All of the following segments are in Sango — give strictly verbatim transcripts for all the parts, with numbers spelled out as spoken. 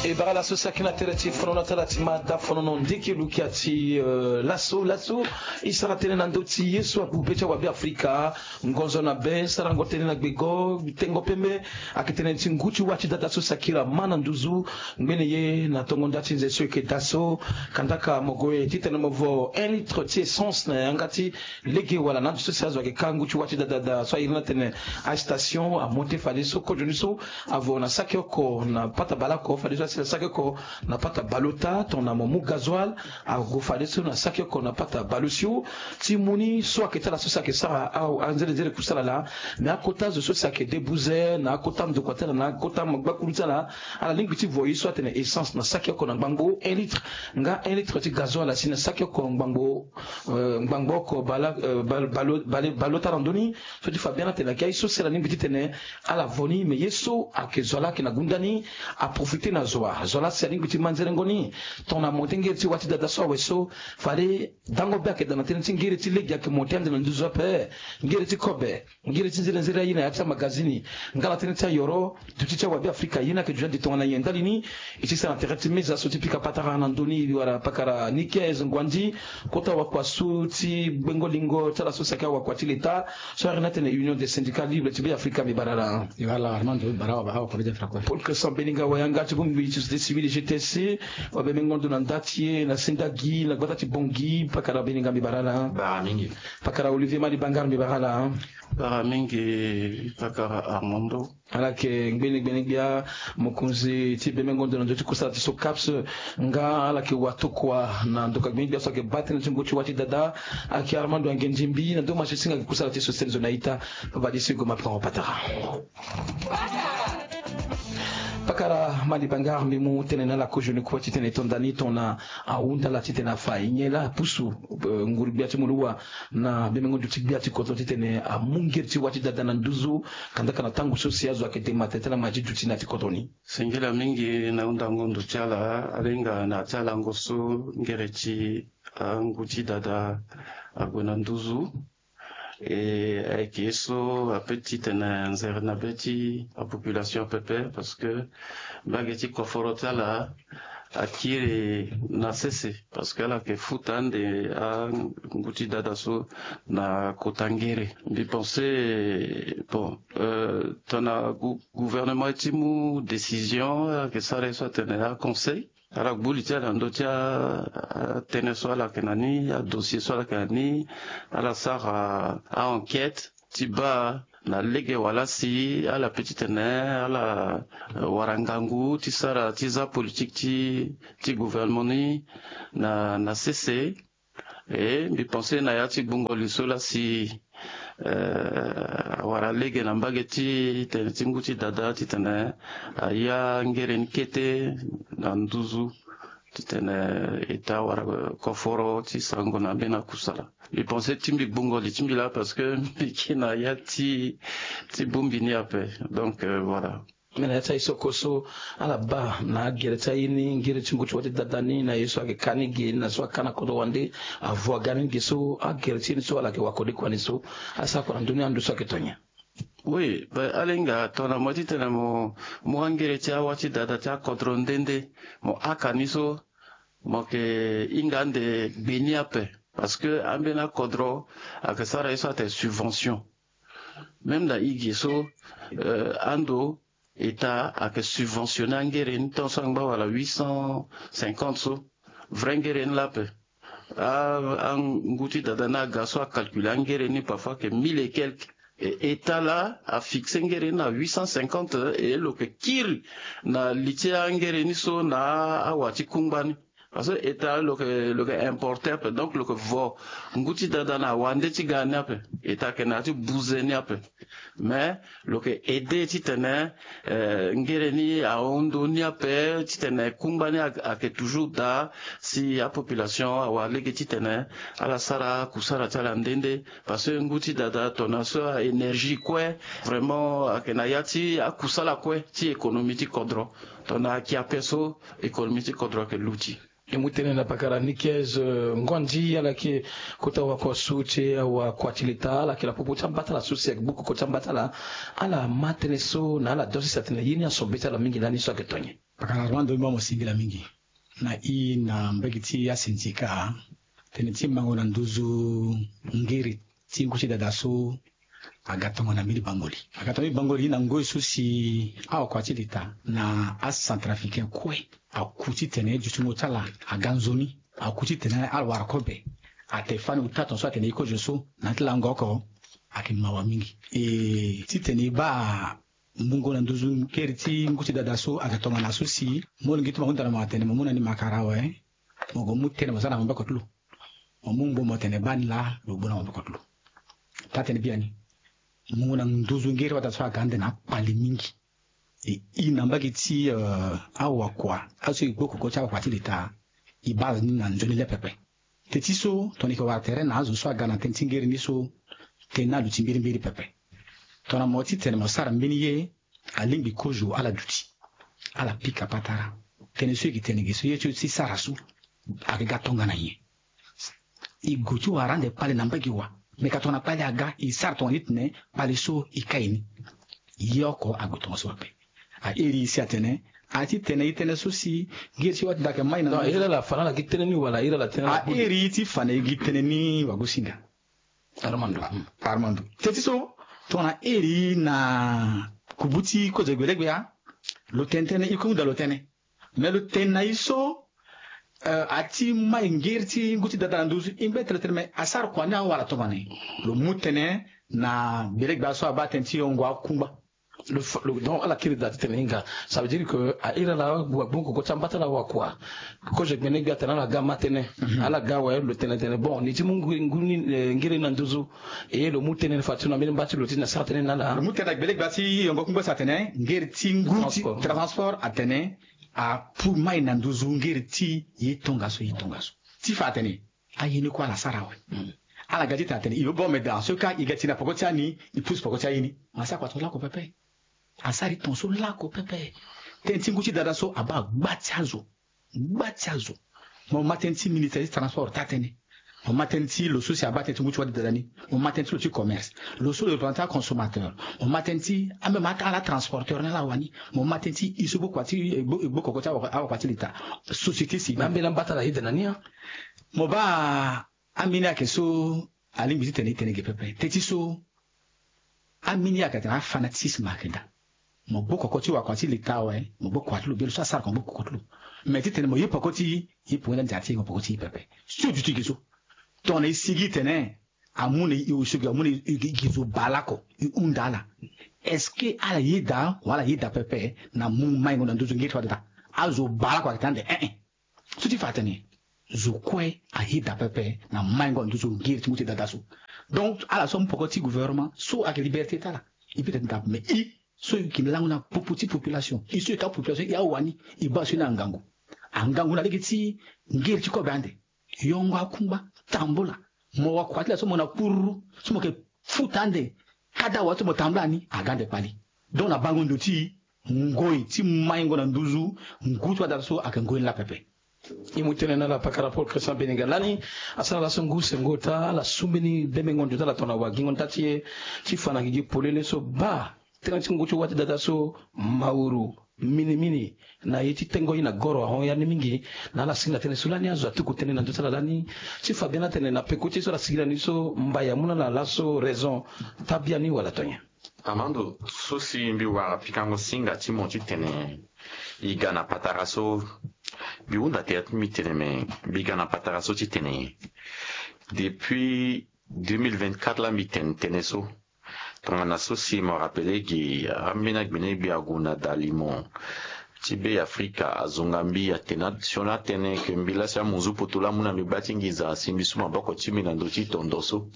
E bara laso saki na tere ti fonono ti ala ti mada fonono ndiki lukia ti, eh, laso laso. E sara tënë na ndö ti ye so ague be ti awabe afrika. Ngonzo na be sarango tënë na gbego tengo pembe. Ayeke tënë ti ngu ti wa ti dada so saki lama na nduzu. Ngbene ye na tongo nda ti nze so eke daa so. Kandaka mo gue titene mo vo un litre ti essence na yanga ti lege wala na ande so si azo ayeke ka ngu ti wa ti dada so a iri ni atene astation amonte fadeso kozo ni so avo na saki oko na pata baleoko fadeso asi na saki oko na pata baleota tongana mo mu gazoile. Ague fadeso na saki oko na pata baleosio ti mu ni so ayeke ti ala so si ayeke sara anzere nzere kusala laa. Me akota zo so si ayeke debuze na akota ndokua ti ala na akota gbakuru ti ala ala lingbi ti vo ye so atene essence na saki oko na ngbangbo un litre nga un litre ti gazoile asi na saki oko ngbangbo ngbangbo oko baleota na ndö ni. So ti fa bien atene ayeke aye so si ala lingbi titene ala vo ni me ye so ayeke zo laa ayeke na gunda ni. Aprofite na zo wa zo laa si alingbi ti manzerengo ni. Tongana mo ti ngere ti wa ti dada so awe so fade dango be ayeke daa na tënë ti ngere ti lege ayeke mo ti ande na nduzu ape. Ngere ti kobe ngere ti nzere nzere aye na ya ti amagazini nga na tënë ti ayoro. Duti ti awabe afrika ye ni ayeke duti ande tongana nyen ndali ni. E ti sara na tere ti meza so ti pika patara na ndö ni wala pakara ni kez nguandi kota wakua so ti gbengo lingo ti ala so si ayeke awakua ti leta so ari ni atene union des syndicats libre ti be afrika mbi bara ala. Paul cresson beninga wayanga ti bongbi ti société civile gtsc. Wabe mengo ndo na nda ti e na sendagi na gbata ti bongi pakara beninga mbi bara ala. Pakara olivier mali bangar mbi bara ala. Bara mingi pakara armando. Ala yeke ngbene gbene gbia mokonzi ti bemengo ndo na ndö ti kusala ti so caps nga ala yeke watokua na ndoka gbene gbia so ayeke baa tënë ti ngu ti wa ti dada. Ayeke armando angendimbi na ndö ma ti singa ayeke kusala ti so sene zo na ita. Papa ti sigo ma prango patara. Pakara mali bangar mbi mu tënë na ala kozoni kue titene e to nda ni tongana ahunda ala titene afa e nyen laa apusu nguru gbia ti muluwa na bemengo ndo ti gbia ti kodro titene amu ngeri ti wa ti dada na nduzu. Kandaka na tango so si azo ayeke dema tene ti ala ma ti duti na ya ti kodro ni. Singila mingi na hundango ndo ti ala alenga na ya ti alango so ngere ti angu ti dada ague na nduzu. E ayeke ye so ape titene nzere na be ti apopulation pepe parce que mbage ti koforo ti ala akiri na sese parce que ala yeke futa ande angu ti dada so na kota ngere. Mbi pense bon, tongana gouvernement ti mu décision ayeke sara ye so atene aconseil ala gbu li ti ala na ndö ti atënë so ala yeke na ni adossier so ala yeke na ni. Ala sara a-enquête ti baa na lege wala si ala pe titene ala wara ngangu ti sara ti za politique ti ti gouvernement ni na na sese. E mbi pense na ya ti gbungo li so laa si awara lege na mbage ti tene ti ngu ti dada titene aya ngere ni kete na nduzu titene eta wara koforo ti sango na mbeni akusala. Mbi pense ti mbi gbungo li ti mbi laa parce que mbi ke na ya ti ti bongbi ni ape. Donc voilà. Mbi na ya ti aye so oko so ala baa na agere ti aye ni ngere ti ngu ti wa ti dada ni na ye so ayeke ka ni ge ni na so aka na kodro wande. Avo aga ni ge so agere ti ye ni so ala yeke wakode kua ni so asara kua na ndö ni ando so ayeke to nyen? Oui, ben ala hinga tongana mo ye titene mo mu angere ti awa ti dada ti akodro nde nde mo aka ni so mo yeke hinga ande gbe ni ape. Parce que ambeni akodro ayeke sara ye so atene subvention. Même na e ge so ando eta ayeke subventionner angere ni tant so angba wala huit cent cinquante so. Vrai ngere ni laa ape. Angu ti dada ni aga so acalculer angere ni parfois ayeke mille et quelque. Eta laa afixe ngere ni na huit cent cinquante. E lo yeke kiri na li ti angere ni so na awa ti kungba ni. Parce que eta lo yeke lo yeke importer ape donc lo yeke vo ngu ti dada na wande ti ga ni ape. Eta ayeke na ya ti buze ni ape. Mais lo yeke aide titene ngere ni ahon ndo ni ape titene kungba ni ayeke toujours daa si apopulation awara lege titene ala sara kusara ti ala nde nde. Parce que ngu ti dada tongana so a-énergie kue vraiment ayeke na ya ti akusala kue ti économie ti kodro. Tongana ayeke ape so économie ti kodro ayeke luti. E mu tënë na pakara Nicaise, euh, Ngondi, ala yeke kota wakua so ti e, awakua ti leta, ala yeke na popo ti ambatala so si ayeke gbu koko ti ambatala. Ala ma tënë so na ala dosi si atene ye ni aso be ti ala mingi lani so ayeke to nyen? Pakara Armando, mbi mo singila mingi. Na i na mbage ti asindika, tënë ti mango na nduzu ngiri ti ngu ti dada so aga tongana mbeni bangoli. Aga tongana mbeni bangoli na ngoi so si awakua ti leta na acentrafricain kue aku titene dutingo ti ala aga nzoni. Aku titene ala wara kobe. Ate fani uta tongaso atene e kozo so na ya ti lango oko, ayeke mawa mingi. E titene e baa mungo na nduzu ngiri ti ngu ti dada so ayeke tongana so si molenge ti mo ahunda na mo atene mo mu na ni makara awe, mo gue mu tënë mo za na maboko ti lo. Mo mu ngbo mo tene baa ni laa, lo gbu na maboko ti lo. Taa tënë biani, mungo na nduzu ngiri ti wata so aga ande na akpali mingi. E, i na mbage ti, euh, awakua aso e gbu koko ti awakua ti leta, e baa ni na nzoni le pepe. Teti so tongana e yeke wara tere na azo so aga na tënë ti ngiri ni so, tënë ni aluti mbirimbiri pepe. Tongana mo titene mo sara mbeni ye, alingbi kozo ala duti, ala pika patara. Tënë so e yeke tene ge so, ye ti e ti sara so ayeke ga tongana nyen? E gue ti wara ande kpale na mbage wa. Me ka tongana kpale aga, e sara tongana ni tene kpale so e kai ni. Ye oko ague tongaso ape. A iri e si atene, a ti tene e tene so si ngiri ti wata da ayeke mai na nduzu. Iri ala fa na ala gi tënë ni wala iri ala tene? A iri e ti fa na e gi tënë ni wagosinga. Armando. Hmm. Armando. Teti so tongana iri na kubu ti kozo gbelegbia, lo tene tënë, e kue hunda lo tene. Me lo tene na e so, eh, a ti mai ngiri ti ngu ti dada na nduzu, e ngbe tene tene, me asara kua ni awara tongana nyen? Lo mu tënë na gbelegbia so abaa tënë ti yongo akungba. Lo fa-, lo, donc, ala kiri da ti tene hinga. Ça veut dire que a iri ala wa gbongo koko ti ambatala wakua. Kozo gbene gbia atene ala ga ma tënë. Mhm. Ala ga awe, lo tene tene. Bon, ni ti mu ngu-, ngu ni, eh, ngiri na nduzu. E lo mu tënë ni fa ti lo na mbeni mba ti lo ti na sara tënë ni na ala. Lo mu tënë na gbelegbia ti yongo kungba si atene ngiri ti ngu ti transport. Transport atene apu mai na nduzu ngiri ti ye tongaso, ye tongaso. Ti fa atene aye ni kue ala sara awe. Mm. Ala ga ti tene atene e baa me daa so ka e ga ti na poko ti ani, e pusu poko ti aye ni. Asara kua tongaso lako pepe. Asara e tongaso lako pepe. Tënë ti ngu ti dada so abaa gba ti azo. Gba ti azo. Mo ma tënë ti ministère ti transport taa tënë. Mo ma tënë ti lo so si abaa tënë ti ngu ti wâ ti dada ni. Mo ma tënë ti lo ti commerce. Lo so lo représentant ti aconsommateur. Mo ma tënë ti ameme ata ala transporteur ni ala wani. Mo ma tënë ti e so gbu kua ti, eh, gbu, gbu koko ti awakua, awakua ti leta. Société civile. Me ambeni ambatala ayeda na ni, hein. Mo baa ambeni ayeke so alingbi titene e tene ge pepe. Teti so ambeni ayeke atene afanatisme ayeke daa. Mo gbu koko ti wakua ti leta awe, mo gbu kua ti lo, bia lo so asara kua mo gbu koko ti lo. Me titene mo ye poko ti e, e poko ti ande ati e mo poko ti e pepe. So duti ge so. Tongana e sigi tene amu na e, e osio ge, amu na e, e, e zo baa lako, e hunda ala. Est-ce que ala yeda wala ala yeda pepe na mu maingo na nduzu ngiri ti wâ ti dada? Azo baa lako ayeke tene ande, eh, eh. So ti fa atene zo kue ayeda pepe na maingo na nduzu ngiri ti ngu ti dada so. Donc ala so amu poko ti gouvernement so ayeke liberté ti ala. E peut-être ndape, mais e so e yeke lango na popo ti population, e so e ka population, e awani, e baa so ni angangu. Angangu na lege ti ngiri ti kobe ande, yongo akungba, tambula. Mo wakua ti la so mo na kururu so mo yeke futa ande, kada wa so mo tambula ni aga ande kpali. Donc na bango ndo ti ngoi ti maingo na nduzu ngu ti wâ ti dada so ayeke ngoi ni laa pepe. E mu tënë na ala pakara Paul Christian Beninga lani. Asara laso ngu sengo ota ala su mbeni bemengo nduta ala tongana wagingo nda ti e ti fa na gigi polele so baa tënë ti ngu ti wâ ti dada so mauru minimini na ye ti tengo ye na goro ahon ya ni mingi. Na ala singila tënë so lani azo atuku tënë na nduta ala lani ti fa biani atene na peko ti ye so ala singila ni so mbai amu na ala laso raison. Taa biani wala to nyen? Armando, so si mbi wara pikango singa ti mo titene e ga na patara so, mbi hunda tere ti mbi tene me mbi ga na patara so titene depuis deux mille vingt-quatre laa mbi tene tënë so. Tongana so si mo rappeler gi ambeni agbene gbia ague na dalimo ti Be Afrika azonga mbi atene sioni atene ke mbi laa si amunzu poto laa amu na mbi gba ti nginza asi mbi su maboko ti mbi na ndö ti tondo so.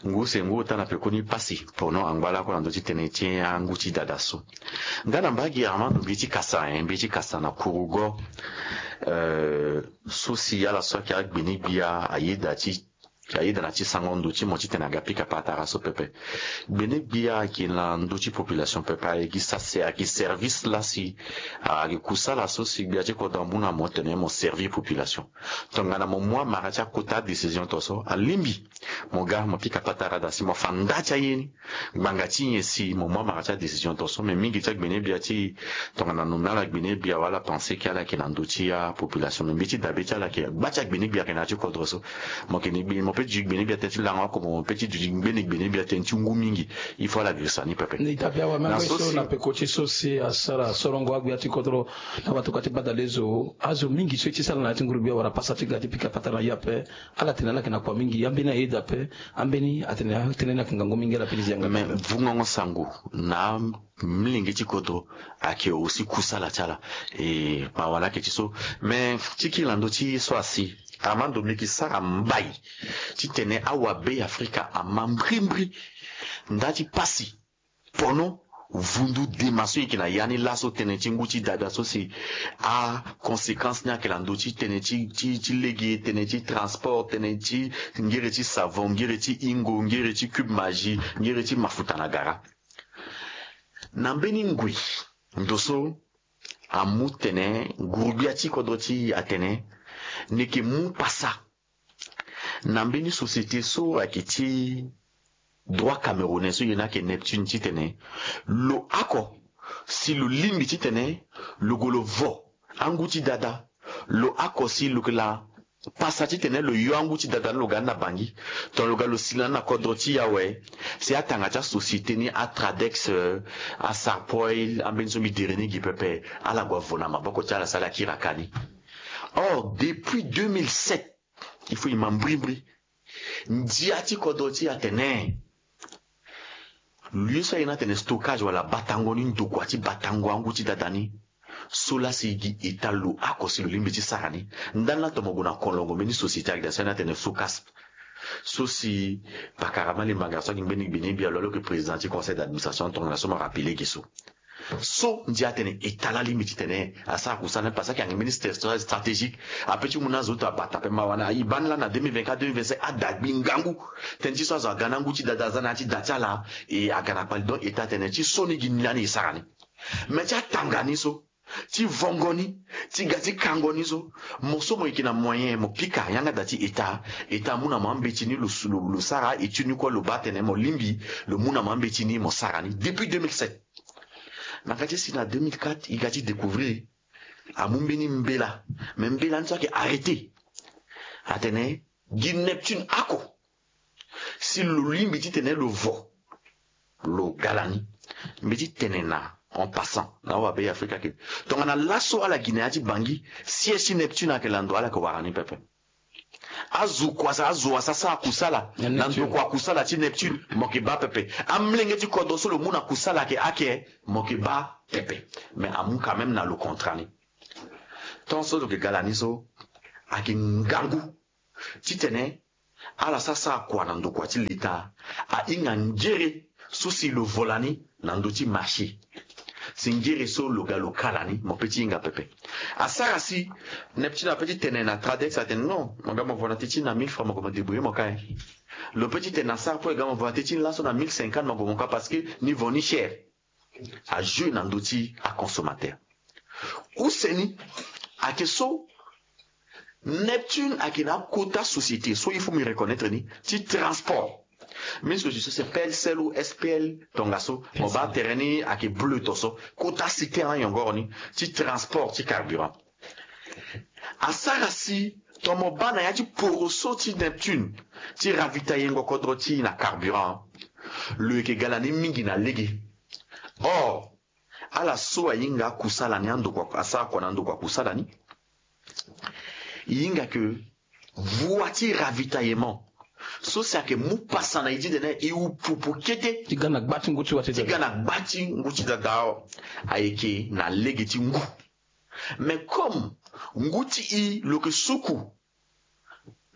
Ngu sengo ota na pekoni pasi pono angba lakue na ndö ti tënë ti angu ti dada so. Nga na mbage Armando mbi ti kasa, eh, mbi ti kasa na kurugo, eh, so si ala so ayeke agbene gbia ayeda ti Ayeda na ti sango ndo ti mo titene aga pika patara so pepe. Gbene gbia ayeke na ndo ti population pepe, ayeke sa se ayeke service lasi. Ayeke kusala so si gbia ti kodro amu na mo tene mo servir population. Tongana mo mu amara ti akota décision to so alingbi mo ga mo pika patara da si mo fa nda ti aye ni. Ngbanga ti nyen si mo mu amara ti adécision to so? Me mingi ti agbene gbia ti tongana nomme ala gbene gbia wala pensé ke ala yeke na ndö ti apopulation, me mbi ti dabe ti ala yeke gba ti agbene gbia ayeke na ya ti kodro so. Mo yeke ni gbene mo pe ti duti gbene gbia tënë ti lango oko, mo pe ti duti gbene gbene gbia tënë ti ngu mingi. Il faut ala girisa ni pepe. Ni dabe awe même so na peko ti so si asara sorongo agbia ti kodro na watuka ti gbadalezo azo mingi so e ti sara na ya ti nguru gbia wala pasa ti ga ti pika patara na ye ape. Ala tene ala yeke na kua mingi ambeni ayeda ape. Ambeni atene atene ni ayeke ngangu mingi ala pe ti zi yanga. Me vungongo sango na amlenge ti kodro ayeke aussi kusala ti ala. E ma wala ayeke ti so. Me ti kiri na ndö ti so asi ama ndo mbi yeke sara mbai titene awabe afrika ama mbrimbri nda ti pasi. Pono vundu dema so e yeke na ya ni laso tënë ti ngu ti dada so si aconséquence ni ayeke na ndö ti tënë ti ti ti lege, tënë ti transport, tënë ti ngere ti savon, ngere ti ingo, ngere ti cube magie, ngere ti mafuta na gara. Na mbeni ngui ndo so amu tene nguru-gbia ti kodro ti e atene ni yeke mu pasa na mbeni société so ayeke ti droit camerounais so ye ni ayeke Neptune titene lo oko si lo lingbi titene lo gue lo vo angu ti dada, lo oko si lo yeke la pasa titene lo yo angu ti dada ni lo ga ni na Bangui, tongana lo ga lo sila ni na kodro ti e awe, si atanga ti asociété ni aTradex, euh, aSarpoil, ambeni so mbi dere ni gi pepe, ala gue avo na maboko ti ala si ala kiri aka ni. Or depuis deux mille sept, il faut e ma mbrimbri. Ndia ti kodro ti e atene lieu so aye ni atene stockage wala batango ni ndokua ti batango angu ti dada ni. So laa si gi état lo oko si lo lingbi ti sara ni. Ndani laa tongana mo gue na kolongo mbeni société ayeke daa so aye ni atene SOCASP. So si pakara Mali Mbanga so ayeke ngbeni gbeni bia lo aloke président ti conseil d'administration tongana so mo rappeler ge so. So ndia atene état laa lingbi titene asara kusala ni parce que ayeke mbeni stra- stratégique. Ape ti mu na azo ti abata ape mawa ni e baa ni laa na deux mille vingt-quatre deux mille vingt-cinq ada gbi ngangu. Tënë ti so azo aga na ngu ti dada aza na ya ti da ti ala. E aga na kpali donc état atene ti so ni gi ni lani e sara ni. Me ti atanga ni so ti vongo ni ti ga ti kango ni so, mo so mo yeke na moyen mo pika yanga da ti état. État amu na mo ambeti ni lo sara étude ni kue lo baa atene mo lingbi lo mu na mo ambeti ni mo sara ni depuis deux mille sept. Na ka ti si na deux mille quatre e ga ti découvrir amu mbeni mbela. Me mbela ni so ayeke arrêté atene gi Neptune oko si lo lingbi titene lo vo lo ga lani. Mbi ti tene na en passant na awabe afrika ke tongana laso ala gi na ya ti Bangui, siège ti Neptune ayeke lando ala yeke wara ni pepe. Azo kua sa azo wasa sara kusala na ndokua kusala ti Neptune mo yeke baa pepe. Amolenge ti kodro so lo mu na kusala ayeke ake mo yeke baa pepe. Me amu quand même na lo contrat ni. Tant so lo yeke ga lani so ayeke ngangu titene ala sara sara kua na ndokua ti leta. Ahinga ngere so si lo vo lani na ndö ti marché. Si ngere so lo ga lo ka lani mo pe ti hinga pepe. Asara si Neptune ape ti tene na Tradex atene non, mo ga mo vo na teti na mille francs mo gue mo débrouiller mo ka. Lo pe ti tene na Sarpoil ga mo vo na teti ni laso na mille cinquante mo gue mo ka parce que ni vo ni cher. Ajeu na ndö ti aconsommateur. Use ni ayeke so Neptune ayeke na akota société so il faut mbi reconnaître ni ti transport. Mbi so ti so c'est P L C L ou S P L tongaso. Mo baa tere ni ayeke bleu to so kota cité na yongoro ni ti transport ti carburant. Asara si tomo baa na ya ti poroso ti Neptune ti ravitaillengo kodro ti na carburant. Lo yeke ga lani mingi na lege. Or ala so ahinga akusala ni andokua asara kua na andokua kusala ni. E hinga ke voie ti ravitaillement so si ayeke mu pasa na e ti tene e upupu kete ti ga na gba ti ngu ti wa ti ti ga na gba ti ngu ti dada. Ayeke na lege ti ngu. Mais comme ngu ti e lo yeke suku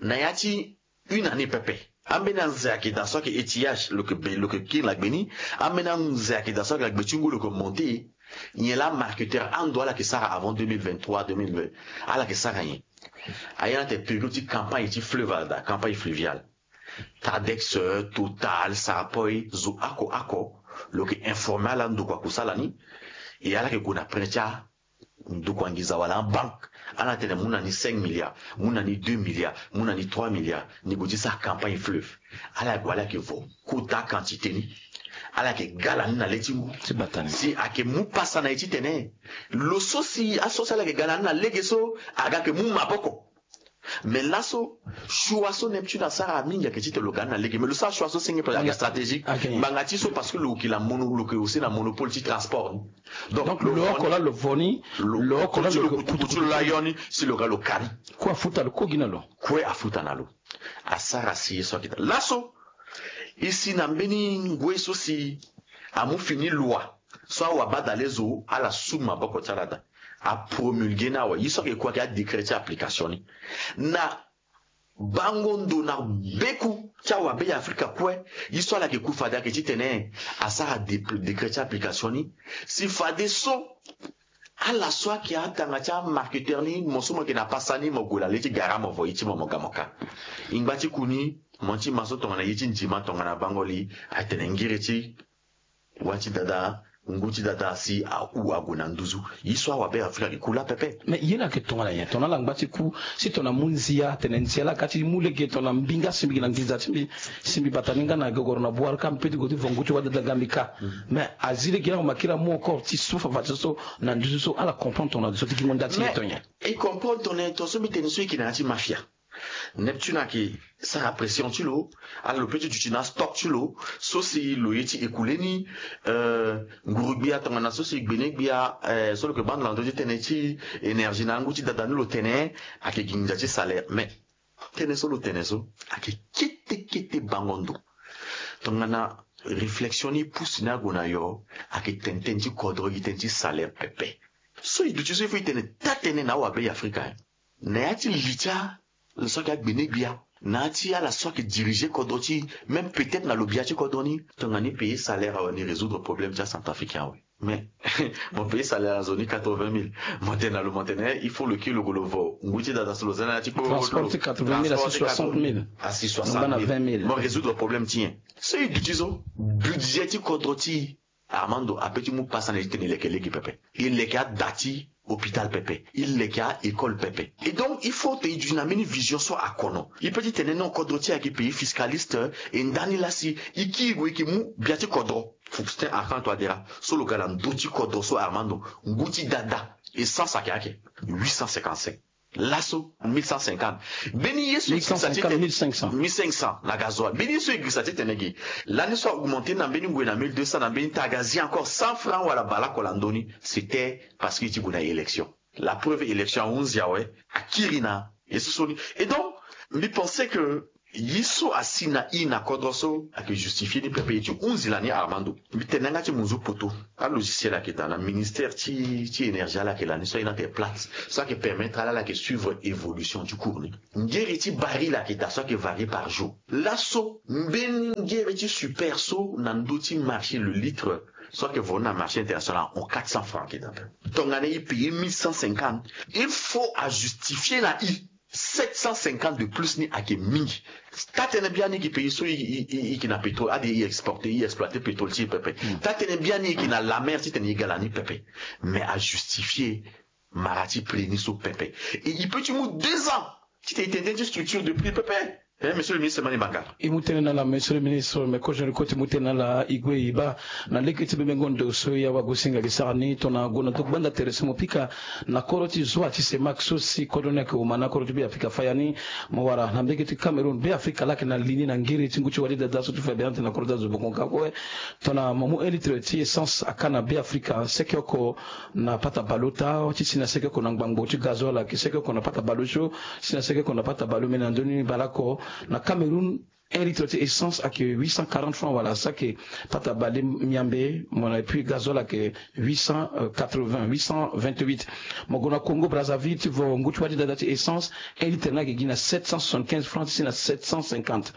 na ya ti une année pepe. Ambeni anze ayeke daa so ayeke étiage lo yeke be lo yeke kiri na gbe ni. Ambeni anze ayeke daa so ayeke na gbe ti ngu lo yeke monte. Nyen laa marketeur ando ala yeke sara avant deux mille vingt-trois deux mille vingt ala yeke sara nyen? Aye na ate période ti campagne ti fleuve ala daa campagne fluviale. Tadex, Total, Sarapoi, zo oko oko, lo yeke informer ala ndokua kusala ni. E ala yeke gue na prêt ti andokua nginza wala abanque. Ala tene mu na ni cinq milliards, mu na ni deux milliards, mu na ni trois milliards, ni gue ti sara campagne fleuve. Ala gue, ala yeke vo quota quantité ni. Ala yeke gala ni na le ti ngu. Si ayeke mu pasa na e titene lo so si aso si ala yeke gala ni na lege so aga yeke mu maboko. Mais laso, choix so Neptune asara mingi ayeke titene lo ga ni na lege, mais lo sara choix so senge pe ayeke stratégique. Ngbanga ti so parce que lo yeke na mono, lo yeke aussi na monopole ti transport. Donc lo oko la lo vo ni, lo oko la lo kutu ti lo la yo ni, si lo ga lo ka ni. Kue afuta lo, kue gi na lo. Kue afuta na lo. Asara si ye so ayeke daa laso. E si na mbeni ngoi so si amu fini loi so awabadale zo ala su maboko ti ala daa, apromulgué ni awe. Ye so ayeke ku ayeke adécret ti application ni. Na bango ndo na beku ti awabe ya Afrika kue, ye so ala yeke ku fade ayeke titene asara dé-, décret ti application ni. Si fadeso ala so ayeke atanga ti amarketeur ni, mo so mo yeke na pasa ni, mo gue na le ti gara, mo vo ye ti mo, mo ga mo ka. E ngba ti ku ni, mo ti ma so tongana ye ti ndima tongana bango li atene ngiri ti wâ ti dada, ngu ti dada si ahu ague na nduzu. Ye so awabe Afrika ayeke ku laa pepe. Mais ye la ayeke tongana nyen? Tongana ala ngba ti ku, si tongana amu nzia, atene nzia la aga ti mu lege tongana mbinga si mbi gi na nginza ti mbi, si mbi bata ni nga na gogoro na bwara ka, mbi peut ti gue ti vo ngu ti wâ dada nga mbi ka. Mais azi lege ni amakiri amu encore ti su fafa ti so so na nduzu so, ala comprendre tongana zo ti gi mo nda ti ye to nyen? E comprendre tongana nyen? Tonga so mbi tene so e yeke na ya ti mafia. Neptune ayeke sara pression ti lo, ala lo peut ti duti na astock ti lo so si lo ye ti écoulé ni. Euh, nguru-gbia tongana so si gbene-gbia, euh, so lo yeke baa ndo na ndö ti tënë ti énergie na angu ti dada ni lo tene ayeke gi nginza ti salaire. Mais tënë so lo tene so ayeke kete kete bango ndo. Tongana réflexion ni pousse ni ague na yo, ayeke tene tënë ti kodro gi tënë ti salaire pepe. So e duti so il faut e tene taa-tënë na awabe ya Afrika, eh. Na ya ti li ti ala so ayeke agbene-gbia, na ya ti ala so ayeke diriger kodro ti, même peut-être na lo bia ti kodro ni, tongana ni payer salaire awe ni résoudre problème ti acentrafricain awe. Mais mo payer salaire na zo ni quatre-vingt mille, mo tene na lo, mo tene, eh, il faut lo kiri lo gue lo vo ngu ti dada so lo za na ya ti kpo. Transport ti quatre-vingt mille asi soixante mille. Asi soixante mille. Mo résoudre problème ti nyen? So e duti so, budget ti kodro ti Armando apeut ti mu pasa na e ti tene e leke lege pepe. E leke ada ti hôpital pepe. E leke a-école pepe. Et donc, il faut te e duti na mbeni vision so akono. E peut ti tene non, kodro ti e ayeke pays fiscaliste, e ndani laa si e kiri gue e yeke mu bia ti kodro. Faustin Archange Touadéra so lo ga na ndö ti kodro so, Armando, ngu ti dada essence ayeke, ayeke huit cent cinquante-cinq. Laso mille cent cinquante. Mbeni ye so e girisa ti tene mille cinq cents. Mille cinq cents na gasoil. Mbeni ye so e girisa ti tene gi. Lani so a augmenté na mbeni ngoi na mille deux cents, na mbeni ti aga azi encore cent francs wala bale oko na ndö ni. C'était parce que e ti gue na élection. La preuve, élection ahunzi awe, akiri na ye so so ni. Et donc, mbi pensé que ye so asi na e na kodro so ayeke justifié ni pepe. E ti hunzi lani, Armando. Mbi tene na yanga ti munzu poto. A-logiciel ayeke daa na ministère ti, ti énergie, ala yeke lani so aye ni atene Platts. So ayeke permettre ala, ala yeke suivre évolution ti cours ni. Ngiri ti baril ayeke daa so ayeke varier par jour. Laso mbeni ngiri ti super so na ndö ti marché, le litre so ayeke vendu na marché international ahon quatre cents francs ayeke daa. Tongana e payer mille cent cinquante, il faut ajustifier na e sept cent cinquante de plus ni ayeke mingi. Taa-tënë biani e yeke pays so e, e, e, e yeke na pétrole, ade e exporter, e exploiter pétrole ti e pepe. Taa-tënë biani e yeke na la mer ti tene e ga lani pepe. Mais ajustifier mara ti prix ni so pepe. Et e peut ti mu deux ans ti tene e tene tënë ti structure de prix pepe. Eh, monsieur le ministre Mani Banga. E mu tënë na ala, monsieur le ministre, me kozo ni kue ti mu tënë na ala, e gue e baa na lege ti bebengo ndo so e awagosinga gi sara ni tongana gue na ndo gbanda tere so mo pika na kodro ti zoa ti CEMAC so si kodro ni ayeke oma na kodro ti Beafrika faya ni. Mo wara na mbege ti Cameroun, Beafrika laa ayeke na li ni na ngiri ti ngu ti wali dada so ti fade ante na kodro ti azo boko nga kue. Tongana mo mu un litre ti essence aka na Beafrika, seke oko na pata bale ota, ti si na seke oko na ngbangbo ti gazoil ayeke seke oko na pata bale osio, si na seke oko na pata bale omene na ndö ni bale oko. Na Cameroun, un litre ti essence ayeke huit cent quarante francs wala saki pata bale miambe, mo na, et puis gazoil ayeke huit cent quatre-vingts, huit cent vingt-huit. Mo gue na Congo Brazzaville ti vo ngu ti wali dada ti essence, un litre ni ayeke gi na sept cent soixante-quinze francs ti si na sept cent cinquante.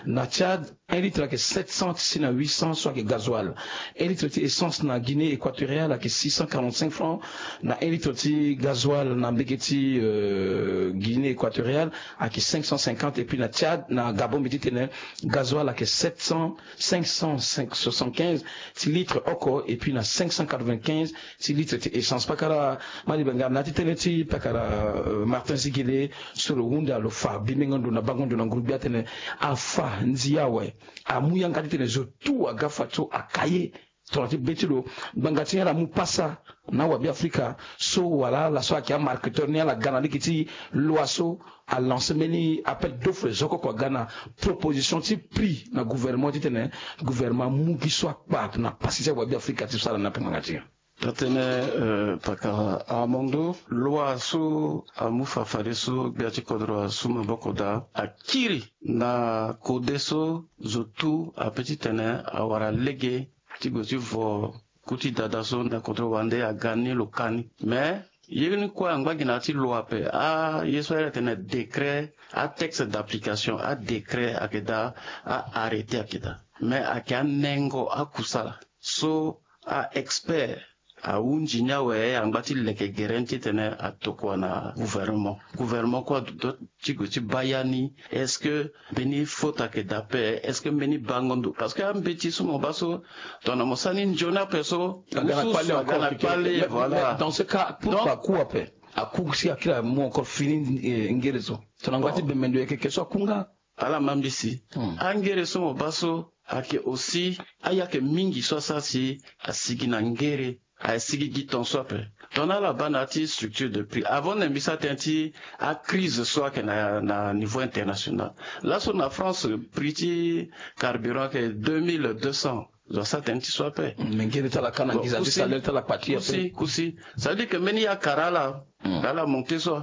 Na Tchad, un litre ayeke sept cents ti si na huit cents so ayeke gazoil. Un litre ti essence na Guinée équatoriale ayeke six cent quarante-cinq francs. Na un litre ti gazoil na mbege ti, euh, Guinée équatoriale ayeke cinq cent cinquante. Et puis na Tchad, na Gabon, mbi ti tene Gasoil ayeke sept cents, cinq cent soixante-quinze ti litre oko, et puis na cinq cent quatre-vingt-quinze ti litre ti essence. Pakara Malibenga, na ya ti tënë ti pakara, euh, Martin Ziguele, so lo hunda lo fa bimengo ndo na bango ndo na nguru-gbia atene afa ndia awe amu yanga titene zo tout aga fa so aka ye. Tongana ti be ti lo, ngbanga ti ala amu pasa na awabe afrika so wala ala so ayeke amarketeur ni, ala ga na lege ti loi so alance mbeni appel d'offre zo oko aga na proposition ti prix na gouvernement titene gouvernement amu gi so akpa na pasi ti awabe afrika ti sara na ape ngbanga ti nyen? Atene, euh, pakara Armando, loi so amu fa fadeso gbia ti kodro asu maboko daa akiri na kode so zo tout ape titene awara lege ti gue ti vo ku ti dada so na kodro wande aga ni lo ka ni. Mais ye ni kue angba gi na ya ti loi ape. Aye so ayeke tene décret, atexte d'application, adécret ayeke daa, a-arrêté ayeke daa. Mais ayeke anengo akusala so a-expert ahunzi ni awe angba ti leke gere ni titene atokua na gouvernement. Gouvernement kue aduti ti gue ti baa ya ni. Est-ce que mbeni faute ayeke daa ape? Est-ce que mbeni bango ndo? Parce que ambeti so mo baa so, tongana mo sara ni nzoni ape so, aga na kpale encore. Voilà. Dans ce cas, pourquoi aku ape? Aku si akiri amu encore fini, eh, ngere so. Tongana ngba ti bembe ndo yeke ke so aku nga. Ala ma mbisi. Hmm. Angere so mo baa so ayeke aussi ayeke mingi so asara si asigi na ngere, asigi gi ton so ape. Tongana ala baa na ya ti structure de prix, avant na mbi sara tënë ti acrise so ayeke na, na niveau international. Laso na France, prix ti carburant ayeke deux mille deux cents. Zo asara tënë ti so ape. Hmm, mais ngere ti ala ka na nginza ti salaire ti ala kpa ti ape. Kusi, kusi. Ça veut dire que mbeni ye akara ala, hmm, ala monté so.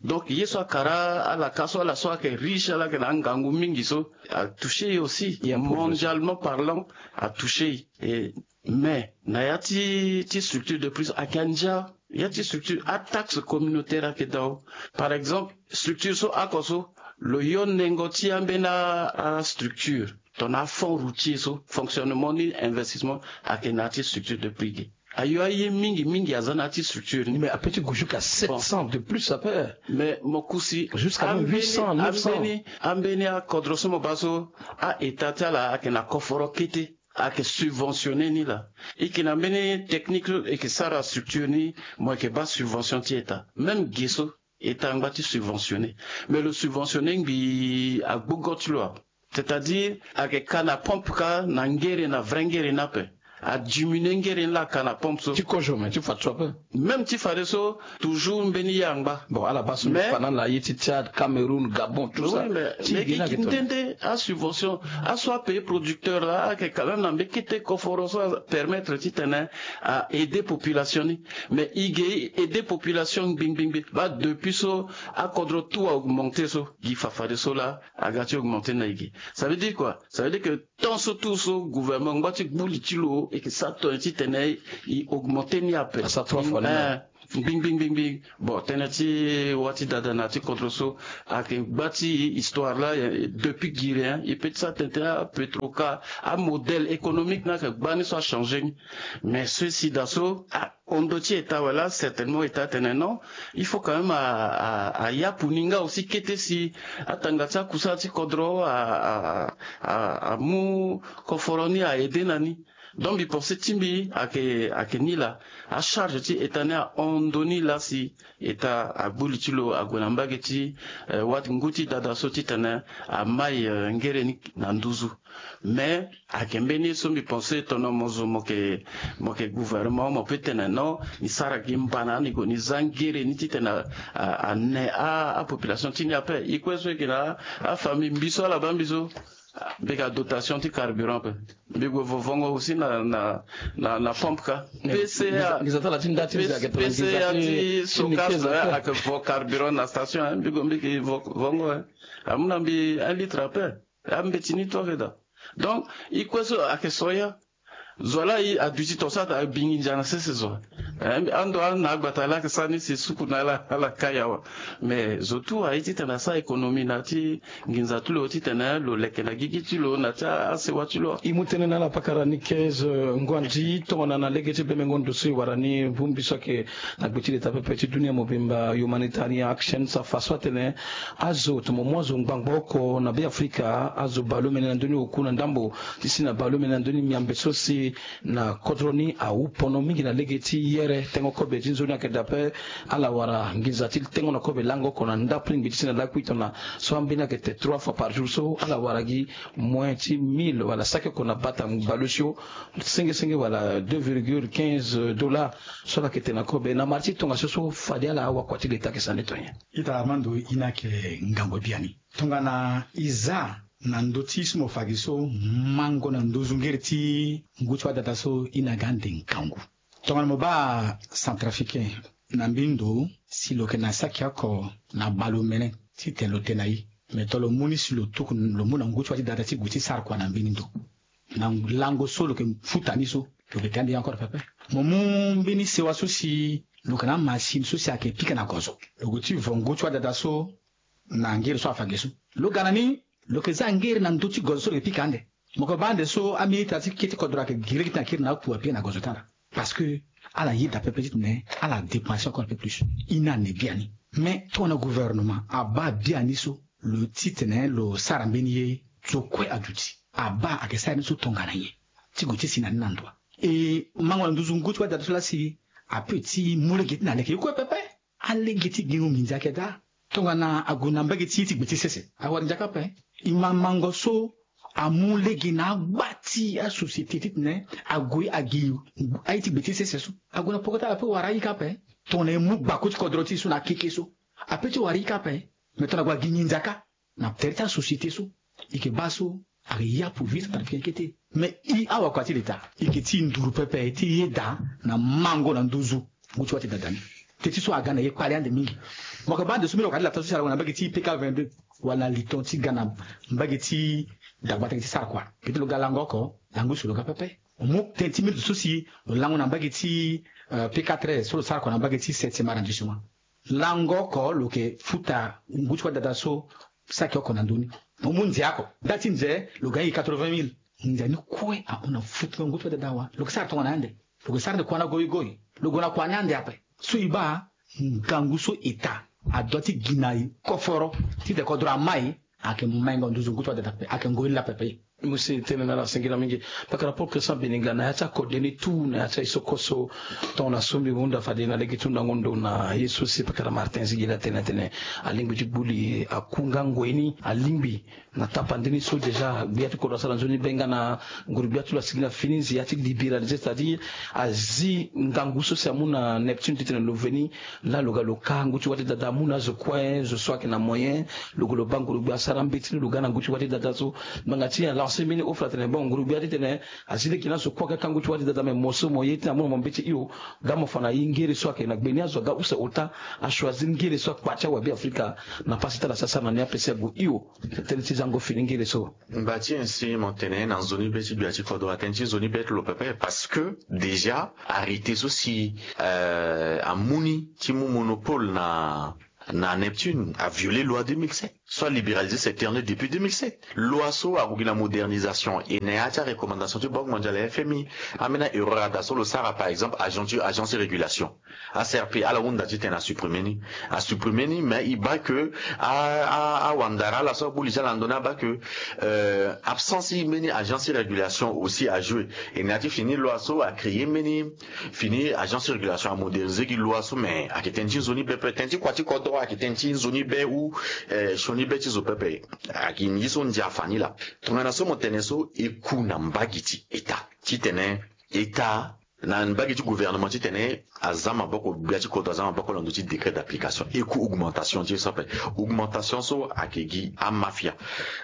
Donc ye so akara ala ka so, ala so ayeke riche, ala yeke na angangu mingi so, atouché ye aussi. Mondialement parlant, atouché ye. Et, mais na ya ti, ti structure de prix ayeke andia, ya ti structure, ataxe communautaire ayeke dao. Par exemple, structure so oko so, lo yo nengo ti ambeni astructure, tongana afonds routier so, fonctionnement ni investissement ayeke na ya ti structure de prix ge. Ayo aye mingi mingi aza na ya ti structure ni. Mais ape ti gue jusqu'à sept cents de plus ape. Mais mo kusi jusqu'à même huit cents, neuf cents. Ambeni, ambeni akodro so mo baa so, a-état ti ala ayeke na koforo kete, ayeke subventionné ni laa. E yeke na mbeni technique so e yeke sara structure ni, mo yeke baa subvention ti état. Même ge so, état angba ti subventionné. Mais lo subventionné ngbii agbogo ti lo. C'est-à-dire, ayeke ka na pompe ka na ngere, na vrai ngere ni ape. Adiminué ngere ni laa aka na pompe so. Ti kozo, mais ti fa so ape. Même ti fadeso, toujours mbeni ye angba. Bon, ala baa so, mais mbi fa na ala ye ti Tchad, Cameroun, Gabon, tout ça. Oui, mais ti gi na yeke nde asubvention. Aso apayer producteur laa, ayeke quand même na mbeni kete koforo so apermettre titene a-aider population ni. Mais e ge aider population ngbiangbingbi. Baa depuis so akodro tout a-augmenté so, gi fa fadeso laa aga ti augmenté na e ge. Ça veut dire quoi? Ça veut dire que tant so tout so gouvernement angba ti gbu li ti lo, e yeke sara tongana titene e augmenté ni ape. Asara trois fois ni. Eh, ngbiangbingbi. Bon, tënë ti wa ti dada na ya ti kodro so ayeke gba ti histoire laa, eh, depuis giri, hein, e peut ti sara tënë ti apetro ka, amodèle économique ni ayeke gba ni so achangé ni. Mais ceci daa so, ah, hon ndo ti état awe laa, certainement état atene non, il faut quand même a, a, ayapu ni nga aussi kete si atanga ti akusala ti kodro a, a, a, amu koforo ni a-aider na ni. Donc mbi pensé ti mbi ayeke, ayeke ni laa, acharge ti état ni ahon ndo ni laa si état agbu li ti lo ague na mbage ti, eh, wa ti ngu ti dada so titene amai, eh, ngere ni na nduzu. Mais ayeke mbeni ye so mbi pensé tongana mo zo mo yeke, mo yeke gouvernement, mo peut tene non, ni sara gi mbana, ni gue ni za ngere ni titene a, a, ane a, apopulation ti ni ape. E kue so e yeke na afamille mbi so ala baa mbi so, mbi yeke na dotation ti carburant ape. Mbi gue vo vongo aussi na, na, na, na pompe ka. P C A, P C A ti Sokas ayeke vo carburant na station, hein. Mbi gue mbi yeke vo vongo, hein. Amu na mbi un litre ape. Ambeti ni tout ayeke daa. Donc e kue so ayeke soya. Zo laa aduti tongaso abingi ndia na sese zo. Ando na agbata laa ake sara ni si suku na ala ala kai awa. Mais zo tu aye titene asara économie na ti nginza ti lo titene lo leke na gigi ti lo na ti asewa ti lo. E mu tënë na ala pakara ni quinze ngondi tongana na lege ti bemengo ndo so e wara ni bongbi so ayeke na gbe ti leta pepe ti dunia mobimba, Humanitarian Action, so afa so atene azo tongana mo mu azo ngbangbo oko na Beafrika, azo baleomene na ndö ni oku na ndambo ti si na baleomene na ndö ni miambe so si na kodro ni awu pono mingi na lege ti yere tengo kobe ti nzoni ayeke daa ape. Ala wara nginza ti tengo na kobe lango oko na ndapelengbi ti si na lakui tongana so ambeni ayeke te trois fois par jour so ala wara gi moins ti mille wala saki oko na bata baleosio senge senge wala deux virgule quinze dollars so ala yeke te na kobe na mara ti tongaso so fade ala awakua ti leta ayeke sara ni to nyen? Ita Armando, e na yeke ngangu biani. Tongana e za na ndö ti so mo fa gi so, mango na nduzu ngere ti ngu ti wadada so e na ga ande ngangu. Tongana mo baa Centrafricain na mbeni ndo si lo yeke na saki oko na baleomene titene lo te na e, me to lo mu ni si lo tuku lo mu na ngu ti wa ti dada ti gue ti sara kua na mbeni ndo. Na lango so lo yeke futa ni so, lo yeke te ande ye encore pepe. Mo mu mbeni sewa so si lo yeke na amasini so si ayeke pika na gozo, lo gue ti vo ngu ti wadada so na ngere so afa ge so. Lo ga na ni, lo yeke za ngere na ndö ti gozo so lo yeke pika ande. Mo yeke baa ande so ambeni ita ti kete kodro ayeke gi lege ti na kiri na apu apika na gozo ti ala. Parce que ala yeda pepe titene ala dépenser encore un peu plus. E na ande biani. Mais tongana gouvernement abaa biani so, lo titene lo sara mbeni ye, zo kue aduti. Abaa ayeke sara ni so tongana nyen? Ti gue ti si na ni na ndo wa? E mango na nduzu ngu ti wadada so laa si ape ti mu lege ti na leke ye kue pepe. Alege ti gingo nginza ayeke daa. Tongana ague na mbage ti ye ti gbe ti sese, awara nzaka ape. E ma mango so amu lege na agba ti asociété titene ague agi aye ti gbe ti sese so. Ague na poko ti ala ape wara ayika ape. Tongana e mu gbako ti kodro ti e so na akeke so, ape ti wara ayika ape. Me tongana ague agi nginza kâ na tere ti asociété so, e yeke baa so ayeke ya pour vie centrafricain kete. Mais e awakua ti leta, e yeke ti nduru pepe ti yeda na mango na nduzu ngu ti wa ti dada ni. Teti so aga na ye kpale ande mingi. Mo yeke baa ande so mbeni wakua ti lata so si ala gue na mbage ti P K vingt-deux wala na liton ti ga na mbage ti dagbata gi ti sara kua. Kete lo ga lango oko, lango so lo ga pepe. Mo mu tënë ti mbeni ndo so si lo lango na mbage ti, euh, P K treize so lo sara kua na mbage ti septième arrondissement. Lango oko lo yeke futa ngu ti wadada so saki oko na ndö ni. Mo mu nze oko, nda ti nze lo ga ye quatre-vingt mille. Nze ni kue ahon na futunga ngu ti wadada awe. Lo yeke sara tongana ande. Lo yeke sara ande kua na goigoi. Lo gue na kua ni ande ape. So e baa ngangu so État adoit ti gi na e koforo titene kodro ama e. Ayeke mengo nduzu ngu ti wadada pepe, ayeke ngoi ni laa pepe. Mo si tene na ala singila mingi. Pakara Paul Christian Beninga, na ya ti akode ni tout, na ya ti aye so koso, tongana so mbi hunda fade na lege ti hundango ndo na ye so si pakara Martin Zigila atene, atene alingbi ti gbu li aku nga ngoi ni, alingbi na tapande ni so déjà gbia ti kodro asara nzoni be nga na nguru gbia ti lo asigi na fini nze ya ti libéraliser, c'est-à-dire azi ngangu so si amu na Neptune titene lo veni laa lo ga lo ka ngu ti wa ti dada amu na azo kue, zo so ayeke na moyen, lo gue lo baa nguru gbia asara mbeti ni lo ga na ngu ti wa ti dada so. Ngbanga ti e alancer mbeni offre atene bon, nguru gbia titene azi lege na azo kue aga ka ngu ti wa ti dada, me mo so mo ye titene amu na mo mbeti hio, ga mo fa na e ngere so ayeke na gbe ni, azo aga use ota, achoisir ngere so akpa ti awabe Afrika na pasi ti ala si asara na ni ape si ague hio. Tënë ti zango fini ngere so. Ngba ti nyen si mo tene na nzoni be ti gbia ti kodro atene ti nzoni be ti lo pepe, parce que déjà arrêté so si, euh, amu ni ti mu monopole na, na Neptune a violé loi deux mille sept, so a libéralisé secteur ni depuis deux mille sept. Loi so ague gi na modernisation, e na ya ti arecommandation ti Banque mondiale, F M I, ambeni erreur ada so lo sara, par exemple, agent ti, agence de régulation. A C R P, ala hunda titene a supprimer ni. A supprimer ni, mais e baa que a, a, awandara ala so abuli ti ala ndo ni abaa que, euh, absence ti mbeni agence ti régulation aussi a joué. E na ya ti fini loi so a créer mbeni fini agence ti régulation, a moderniser gi loi so, mais ayeke tënë ti nzoni be pepe, tënë ti kua ti kodro ayeke tënë ti nzoni be ou, euh, sioni be ti zo pepe. Ayeke ye so ndia afa ni laa. Tongana so mo tene so e ku na mbage ti État titene État na mbage ti gouvernement titene aza maboko, gbia ti kodro aza maboko na ndö ti décret d'application. E ku augmentation ti e so ape. Augmentation so ayeke gi amafia.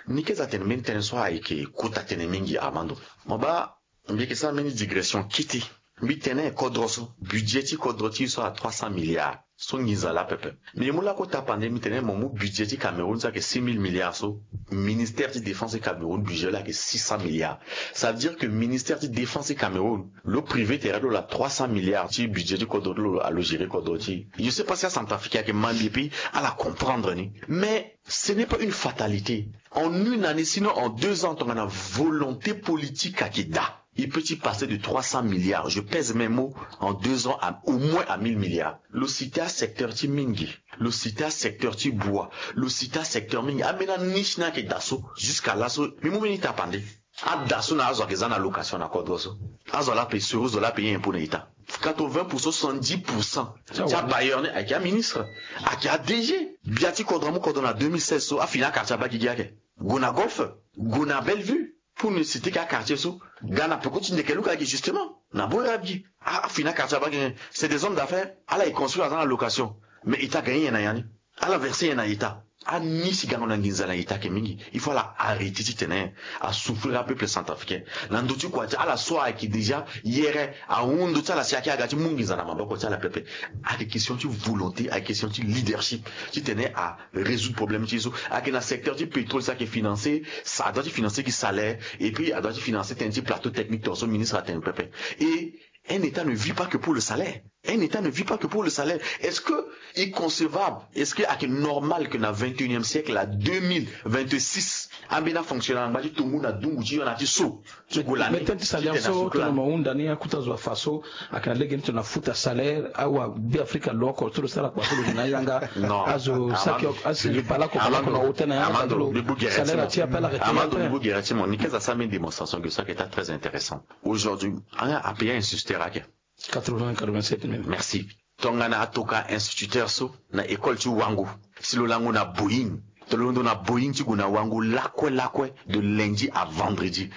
Ni ke za tene mbeni tënë so ayeke kota tënë mingi, Armando. Mo baa mbi yeke sara mbeni digression kete. Mbi tene kodro so, budget ti kodro ti e so a trois cents milliards. So nginza laa pepe. Mais mo lako tapande, mi tene mo mu budget ti Cameroun so ayeke six mille milliards so, ministère ti défense ti Cameroun budget laa ayeke six cents milliards. Ça veut dire que ministère ti défense ti Cameroun, lo privé tere lo laa trois cents milliards ti budget ti kodro ti lo, alo gérer kodro ti. Je sais pas si acentrafricain ayeke ma mbi et puis ala comprendre ni. Mais ce n'est pas une fatalité. En une année, sinon en deux ans, tongana volonté politique ayeke daa, il peut ti passer de trois cents milliards, je pèse mes mots, en deux ans à, au moins à mille milliards. Lo cité asecteur ti mingi, lo cité asecteur ti bua, lo cité asecteur mingi. Ambeni aniche ni ayeke daa so, jusqu'à laso, mbi mu mbeni tapande. Ada so na azo ayeke za na location na kodro so. Azo ala payé, sur azo ala payé impôt na état. Quatre-vingts pour cent, soixante-dix pour cent ti abailleur ni ayeke aministre, ayeke A D G. Bia ti kodro amu kodro na deux mille seize so, afini akartier aba gigi ake. Gue na Golfe, gue na Bellevue. Pour ne citer que akartier so, ga na peko ti ndeke luka gi justement na bore abi gi. Ah, afini akartier aba gi, c'est des hommes d'affaires. Ala e construire aza na location. Mais état gagné nyen na ya ni? Ala verser nyen na état? Ani si gango na nginza na état ayeke mingi. Il faut ala arrêter ti tene asouffrir apeuple centrafricain. Na ndö ti kua ti ala so ayeke déjà yere ahon ndö ti ala si ayeke aga ti mu nginza na maboko ti ala pepe. Ayeke question ti volonté, ayeke question ti leadership ti tene arésoudre problème ti e so. Ayeke na secteur ti pétrole so ayeke financer, ça doit ti financer gi salaire, et puis adoit ti financer tënë ti plateau technique tongaso ministre atene pepe. Et un État ne vit pas que pour le salaire. Un État ne vit pas que pour le salaire. Est-ce que est concevable, est-ce que ayeke normal que na vingt et unième siècle, à deux mille vingt-six, ambeni afonctionnaire angba ti tongu na dungu ti yo na ti so? Ti gue lani. Mais tënë ti salaire so tongana mo hunda ni, akota zo afa so ayeke na lege ni tongana futa salaire, awa Be Afrika lo oko ti lo sara kua so lo yeke na ayanga. Non. Azo saki asi bale oko, bale oko na hotel na yanga. Amando, mbi bu gere ti mo. Amando, mbi bu gere ti mo. Ni keza sara mbeni démonstration ge so ayeke taa très intéressant. Aujourd'hui, a, a pays a insister ake. Quatre-vingts, quatre-vingt-sept mille. Merci. Tongana atoka instituteur so na école ti wango, si lo lango na Boeing, to lo londo na Boeing ti gue na wango lakue lakue de lundi à vendredi,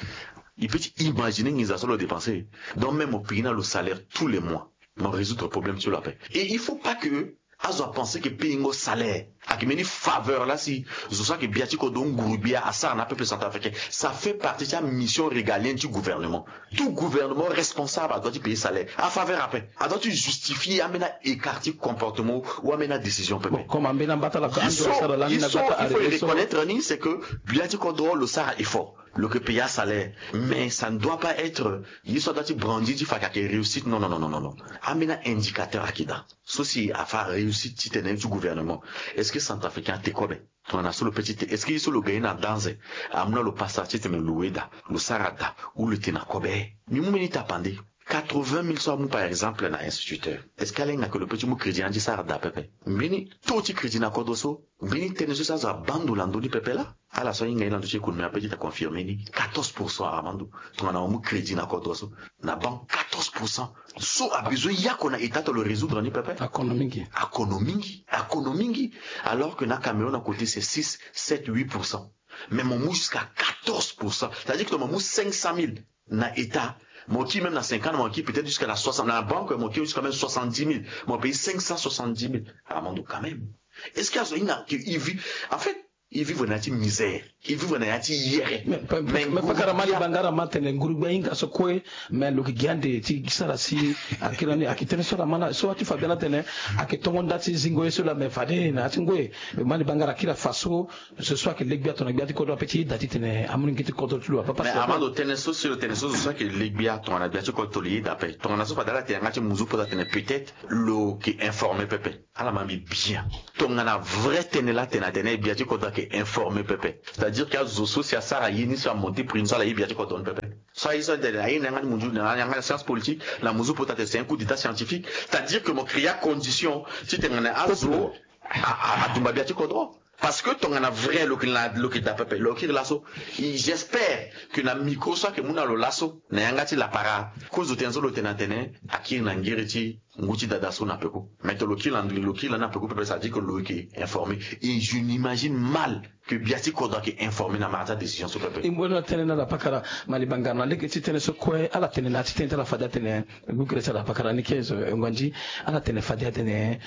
il peut ti imaginer nginza so lo dépenser. Donc même mo pigi na lo salaire tous les mois, mo résoudre problème ti lo ape. Et il faut pas que azo apenser que payingo salaire ayeke mbeni faveur laa si zo so ayeke bia ti kodro, nguru-gbia asara na apeuple centrafricain. Ça fait partie ti amission régalienne ti gouvernement. Tout gouvernement responsable adoit ti payer salaire. Afaveur ape, adoit ti justifier ambeni a-écart ti comportement ou ambeni adécision pepe. Bon, comme ambeni ambata la, il faut, il faut reconnaître ni, c'est que bia ti kodro lo sara effort, lo yeke payer asalaire, mais ça ne doit pas être ye so adoit ti brandir ti fa ayeke réussite. Non, non, non, non, non. Ambeni a-indicateur ayeke daa. So si afa réussite ti tene ti gouvernement, est-ce que centrafricain ate kobe? Tongana so lo peut ti te, est-ce que ye so lo gagner na danze amu na lo pasa ti tene lo loue daa, lo sara daa, ou lo tene na kobe? Mbi mu mbeni tapande. Quatre-vingt mille so amu par exemple na instituteur, est-ce que alenga que lo peut ti mu crédit ni ti sara daa pepe? Mbeni taux ti crédit na kodro so, mbeni tënë so si azo abaa ndo na ndö ni pepe laa. Ala so ahinga ye na ndö ti économie ape ti ta confirmer ni. Quatorze pour cent, Armando. Tongana mo mu crédit na kodro so na banque, quatorze pour cent. So abesoin yako na état ti lo résoudre ni pepe. Akono mingi. Akono mingi. Akono mingi. Alors que na Cameroun à côté c'est six, sept, huit pour cent. Mais mo mu jusqu'à quatorze pour cent. C'est-à-dire que mo mu cinq cent mille na état, mo kiri même na cinquante, mo kiri peut-être jusqu'à la soixante, na banque mo kiri jusqu'à même soixante-dix mille. Mo paye cinq cent soixante-dix mille. Armando, quand même. Est-ce que azo ahinga que il vit, en fait, e vivre na ya ti misère, e vivre na ya ti yere. Mais pa, mais, mais pakara, Mali Bangara, ma tene nguru-gbia ahinga so kue, mais lo yeke gi ande ti sara si akiri ni, ayeke tënë so ala ma na so ati fa bia na tene ayeke tongo nda ti zingo ye so laa, mais fade na ya ti ngoi. Mali Bangara akiri afa so, so so ayeke le-gbia tongana gbia ti kodro ape ti yeda ti tene amu ni ngi ti kodro ti lo apapa. Mais Armando, tënë so si lo tene so, so ayeke le-gbia tongana gbia ti kodro lo yeda ape. Tongana so fade ala tene yanga ti muzu pota tene peut-être lo yeke informé pepe. Ala ma mbi bien. Tongana vrai tënë laa tene atene gbia ti kodro ayeke informé pepe, c'est-à-dire que azo so si asara ye ni so amonté prix ni so ala ye gbia ti kodro ni pepe. So aye so atene aye na yanga ti muzu, na yanga ti science politique, na muzu pota tene c'est un coup d'état scientifique, c'est-à-dire que mo créer condition ti tene na azo a, a, adumba gbia ti kodro. Parce que tongana vrai lo yeke na, lo yeke daa pepe, lo kiri laso. J'espère que na micro so ayeke mu na lo laso na yanga ti lapara, kozo tënë so lo tene atene akiri na ngere ti ngu ti dada so na peko. Mais to lo kiri lani, lo kiri lani na peko pepe, ça veut dire que lo yeke informé. Et je n'imagine mal que gbia ti kodro ayeke informé na mara ti adécision so pepe. E mu na tënë na ala pakara, Mali Bangara, na lege ti tënë so kue ala tene na ya ti tënë ti ala fade atene, gugre ti ala pakara ni ke zo, eh, ngonzi, ala tene fade atene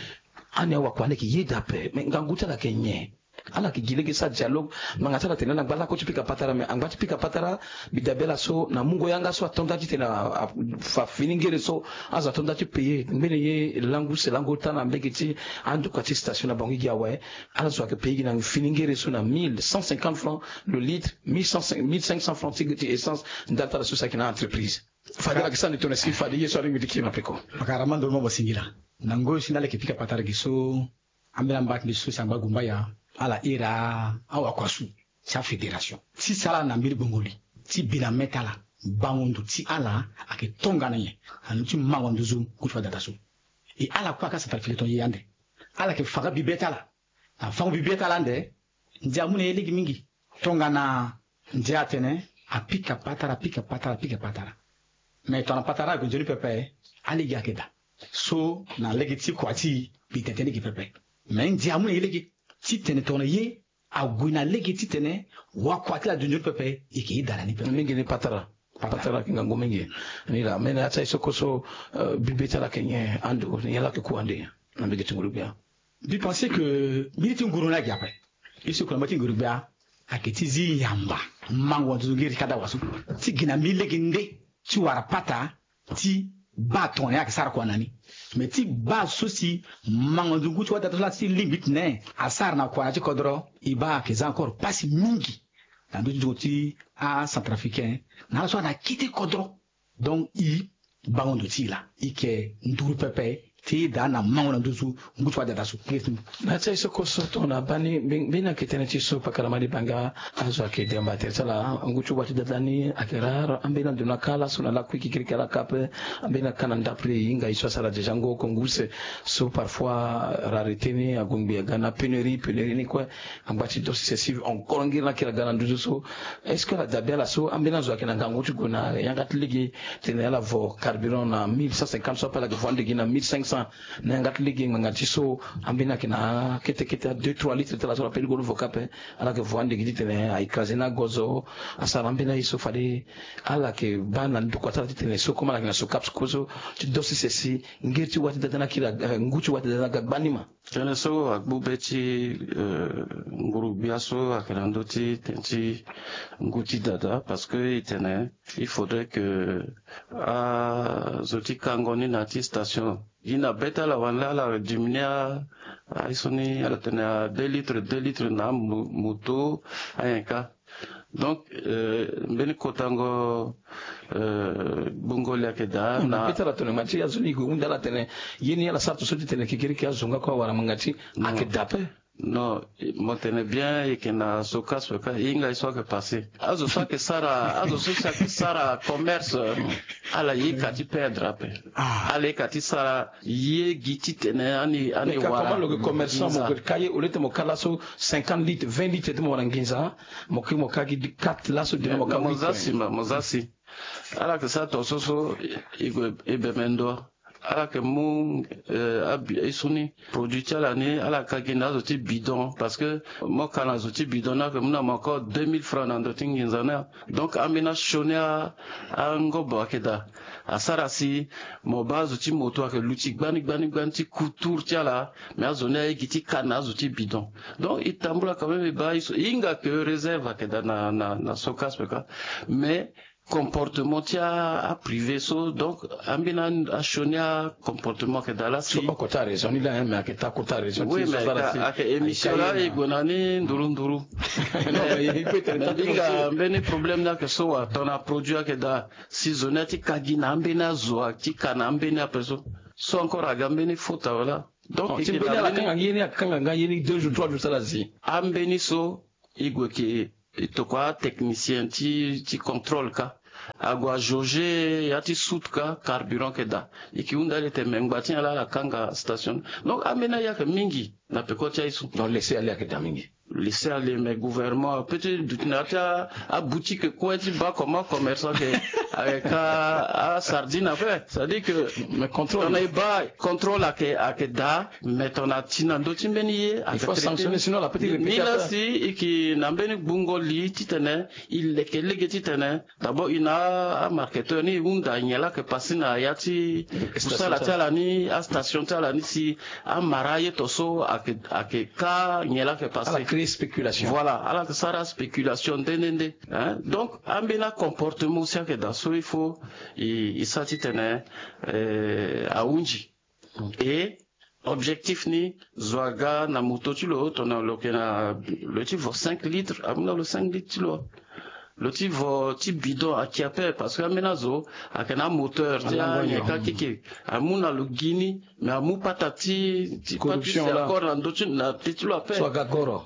ani awakua ni ayeke yeda ape, mais ngangu ti ala ayeke nyen? Ala yeke gi lege ti sara dialogue. Ngbanga ti ala atene na ngba lakue ti pika patara, me angba ti pika patara, mbi dabe ala so na mungo yanga so ato nda titene a, a, fa fini ngere so azo ato nda ti paye ngbene ye langu se lango ota na mbege ti andokua ti station na bango gi awe. Ala zo ayeke paye gi na fini ngere so na mille cent cinquante francs le litre, mille cent, mille cinq cents francs ti, ti essence. Ndali ti ala so si ayeke na entreprise. Fade ala yeke sara ni tongana si fade ye so alingbi ti kiri na peko. Pakara ma ndoro mo mo singila. Na ngoi so ni ala yeke pika patara gi so ambeni amba ti mbi so si angba gumbaya, ala iri awakua so ti afédération ti sara na mbeni gbongo li ti bi na mê ti ala. Bango ndo ti ala ayeke tongana nyen na ndö ti mango nduzu ngu ti wadata so? E ala kue aka centrafricain ton ye ande. Ala yeke fa nga bibe ti ala. Na fango bibe ti ala ande. Ndia amu na ye lege mingi. Tongana ndia atene apika patara, apika patara, apika patara. Me tongana patara ague nzoni pepe, alege ayeke daa. So na lege ti kua ti e, mbi tene tënë lege pepe. Me ndia amu na ye lege titene tongana ye ague na lege titene wakua ti ala ague nzoni pepe, e yeke ye daa na ni pepe. Mingi ni patara. Patara. Patara ayeke ngangu mingi. Ni laa, me na ya ti aye so kue so, eh, bibe ti ala ayeke nyen ando, nyen ala yeke ku ande na mbege ti nguru-gbia? Mbi pense que mbeni ti nguru ni ayeke ape. Ye so kue na mbage ti nguru-gbia ayeke ti zi yamba mango nduzu ngiri ti kadawa so ti gi na mbeni lege nde ti wara pata ti baa tongana ye ayeke sara kua na ni. Me ti baa so si mango nduzu ngu ti wadata so laa ti lingbi ti tene asara na kua na ya ti kodro, e baa ayeke za encore pasi mingi na ndö ti nzongo ti acentrafricain na ala so ayeke na kete kodro. Donc e bango ndo ti e laa, e yeke nduru pepe ti ye daa na mango na nduzu ngu ti wadata so. Na ya ti aye so kue so tongana baa ni, mbe-, mbeni ayeke tënë ti so pakara ma libanga. Azo ayeke demba tere ti ala, ngu ti wa ti dada ni ayeke rare. Ambeni ando ni aka laso na lakui kekiriki ala ka ape. Ambeni aka na ndapre e hinga e so asara déjà ngo oko ngu use. So parfois rareté ni ague ngbi aga na pénurie, pénurie ni kue angba ti dosi sesi encore ngiri ni akiri aga na nduzu so. Est-ce que ala dabe ala so ambeni azo ayeke na ngangu ti gue na yanga ti lege titene ala vo carburant na mille cent cinquante so ape ala yeke vo ande gi na mille cinq cents na yanga ti lege ngbanga ti so? Ambeni ayeke na kete kete a deux trois litres ti ala so ala pe lingoro vo ka ape. Ala yeke vo ande gi titene a écrasé ni agozo. Asara ambeni aye so fade ala yeke baa na ndokua ti ala titene so comme ala yeke na SOCAPS kue so ti dosi sesi ngiri ti wa ti dada ni akiri aga, eh, ngu ti wa ti dada ni aga gbanima. Tënë so agbu be ti, eh, nguru-gbia so ayeke na ndö ti tënë ti ngu ti dada, parce que e tene il faudrait que azo ti kango ni na ya ti station gi na be ti ala wani laa ala diminuer a, aye so ni ala tene a deux litres, deux litres na mo-, moto ayen ka. Donc, eh, mbeni kotango, eh, gbungo li ayeke daa na be ti ala tongana ngbanga ti azo ni e gue hunda ala tene ye ni ala sara to so ti tene kekiriki azo nga kue awara ngbanga ti ayeke daa ape. Non, mo tene bien, e yeke na SOCASP ka, e hinga e so ayeke passé. Azo so ayeke sara, azo so si ayeke sara commerce, ala ye ka ti perdre ape. Ah. Ala ye ka ti sara ye gi titene ani, ani wara. Mais ka comment lo yeke commerçant, mo yeke ka ye, au lieu ti mo ka laso cinquante litres, vingt litres ti mo wara nginza, mo ke mo ka gi quatre laso de mo ka huit. Mo za si, mo za si. Ala yeke sara to so so, e gue e bembe ndo. Ala yeke mu, eh, abi-, e so ni produit ti ala ni, ala ka gi na azo ti bidon, parce que mo ka na zo ti bidon ni ayeke mu na mo encore deux mille francs na ndo ti nginza ni. Donc ambeni asioni a, angobo ayeke daa. Asara si mo baa azo ti moto ayeke luti gbani gbani gbani ti couture ti ala, mais azo ni aye gi ti ka na azo ti bidon. Donc e tambula quand même, e baa e so, e hinga que réserve ayeke daa na, na, na SOCASP ka. Mais comportement ti a, aprivé so, donc ambeni asioni acomportement ayeke daa laa si. So oko ti arégion ni laa, hein, mais ayeke taa kota région ti so. Oui, mais ayeke émission laa e gue na ni nduru nduru. Mais e hinga mbeni problème ni ayeke so wa, tongana produit ayeke daa si zo ni ati ka gi na ambeni azo, ati ka na ambeni ape so. So encore aga mbeni faute awe laa. Donc ti mbeni ala kanga ye ni, akanga nga ye ni deux jours, trois jours ti ala zi. Ambeni so e gue ke e tokua atechnicien ti, ti contrôle ka. Ague ajauger ya ti soute ka, carburant ayeke daa. E ke hunda ala tene me ngba ti nyen laa ala kanga station. Donc ambeni aye ayeke mingi na peko ti aye so. Donc laisser aller ayeke daa mingi. Laisser aller, mais gouvernement peut ti duti na ya ti aboutique kue ti baa comment commerçant ayeke, ayeke ka asardine ape. C'est-à-dire que, mais contrôle, tongana e baa contrôle ayeke, ayeke daa. Mais tongana ti na ndö ti mbeni ye, il faut sanctionner, sinon ala peut ti répéter. Ni laa si e ke na mbeni gbungo li titene e leke lege titene d'abord e na amarketeur ni e hunda nyen laa ayeke passé na ya ti kusala ti ala ni, astation ti ala ni, si amara aye to so ayeke, ayeke ka nyen laa ayeke passé. Spéculation. Voilà, ala yeke sara spéculation nde nde nde. Donc ambeni acomportement aussi ayeke daa so il faut e sara titene ahunzi. E objectif ni, zo aga na moto ti lo tongana lo yeke na, lo ti vo cinq litres, amu na lo cinq litres ti lo. Lo ti vo ti bidon ake ape, parce que ambeni azo ayeke na amoteur ti anyen ka keke, amu na lo gi ni. Mais amu pata ti ti pata ti se encore na ndö ti na te ti lo ape.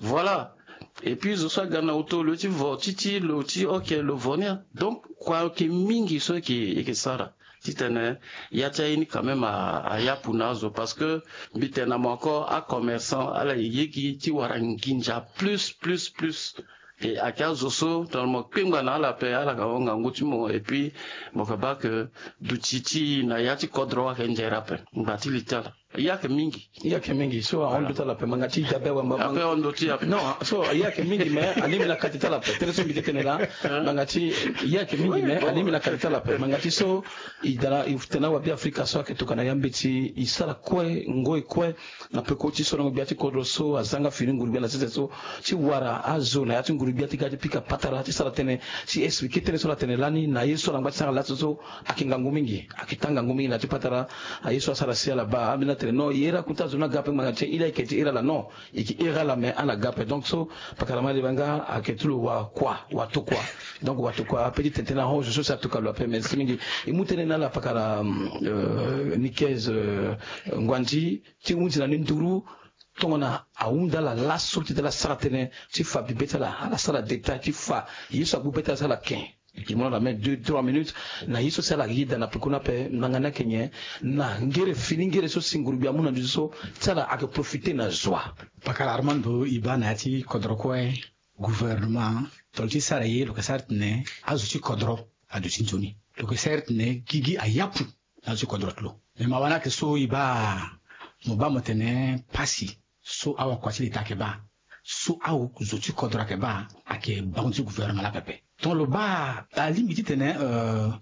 Voilà. Et puis zo so aga na oto lo ti vo ti ti lo ti oke lo vo ni. Donc kua ayeke mingi so eke eke sara titene ya ti aye ni quand même ayapu na azo, parce que mbi tene na mo encore acommerçant ala ye gi ti wara nginza plus plus plus. E ake azo so tongana mo kpengba na ala ape, ala ka honga ngu ti mo. Et puis mo ka baa ke duti ti na ya ti kodro ayeke nzere ape. Ngba ti li ti ala. Ye ayeke mingi. Ye ayeke mingi so ahon ndo ti ala ape, manga ti dabe wamba ape ahon ndo ti ape. Non, so ye ayeke mingi mais alingbi na kati ti ala ape. Tënë so mbi ti tene laa, manga ti ye ayeke mingi mais alingbi na kati ti ala ape. Manga ti so e daa na e tene awabe afrika so ayeke tokua na ya mbeti e sara kue ngoi kue. Na peko ti sorongo gbia ti kodro so azanga fini nguru gbia na sese so ti wara azo na ya ti nguru gbia ti ga ti pika patara ti sara tënë ti expliquer tënë so ala tene lani na ye so ala ngba ti sara laso so. Ayeke ngangu mingi, ayeke taa ngangu mingi na ya ti patara. Aye so asara si ala baa ambeni atene non, e here akuta azo ni aga ape ngbanga ti e laa e yeke ti here ala non. E yeke here ala mais ala ga ape. Donc so pakara ma leba nga ayeke ti lo wa kua wa tokua. Donc wa tokua ape ti tene tënë ahon zo so si atoka lo ape. Merci mingi. E mu tënë na ala pakara Nikez Ngwandi ti hunzi na ni nduru tongana ahunda ala laso ti tene ala sara tënë ti fa bibe ti ala, ala sara détail ti fa ye so agbu be ti ala so ala ken. E mu na ala même deux trois minutes na ye so si ala yeda na pekoni ape. Nanga ni ayeke nyen na ngere fini ngere so si ngurugbi amu na nduzu so ti ala ayeke profiter na zo wa? Pakara Armando, e baa na ya ti kodro kue, gouvernement, tongana lo ti sara ye lo yeke sara titene azo ti kodro aduti nzoni. Lo yeke sara titene gigi ayapu na azo ti kodro ti lo. Me mawa ni ayeke so e baa, mo baa mo tene pasi so awakua ti leta ayeke baa, so azo ti kodro ayeke baa, ayeke bango ti gouvernement laa pepe. Tongana lo baa alingbi titene